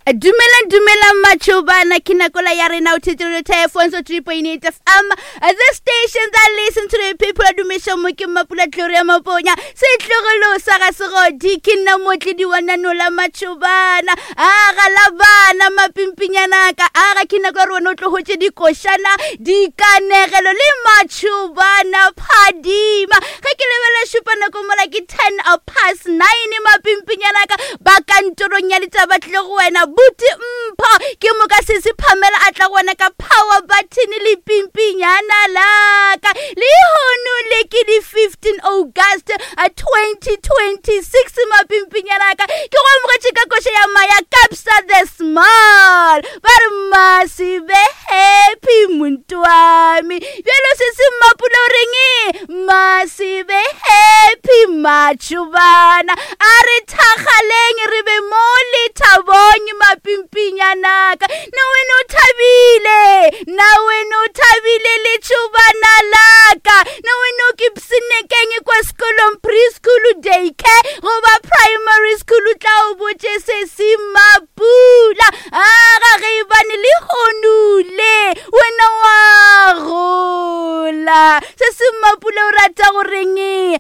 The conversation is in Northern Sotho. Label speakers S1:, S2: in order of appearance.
S1: Dumelang dumelang matšhobana ke nakola ya rena o thetse radio telephone so 3.8 FM the station that listen to the people dumiša mo ke mapula Gloria Maponya setlogolo sa ga segodi ke nna motledi wa nanola matšhobana a ga la bana mapimpinyanaka a ga ke nako ya re wena o tlohotše dikošana dikanegelo le matšhobana phadima ge ke lebelela šupa nako mola ke 10 past 9 mapimpinyanaka ba kantorong ya ditaba tlile go wena buti mpho ke moka sese phamela a tla go wena ka power button le pimpinyana laka lehono le ke di 15 august 2026 mapimpinyana ka ke go amogetše ka koša ya maya capsa the small ba re masibe happy muntu wami bjalo se se mmapula o reng masibe happy matšhobana a re thagaleng re be mo lethabong mapimpinyanaka na wena o thabile na wena o thabile letšhobana laka na wena o ke psenekeng kwa sekolong preschool daycare goba primary school o tla o botše se se mapula aga ge e bane le honule wena wa gola se se mapula o rata goreng?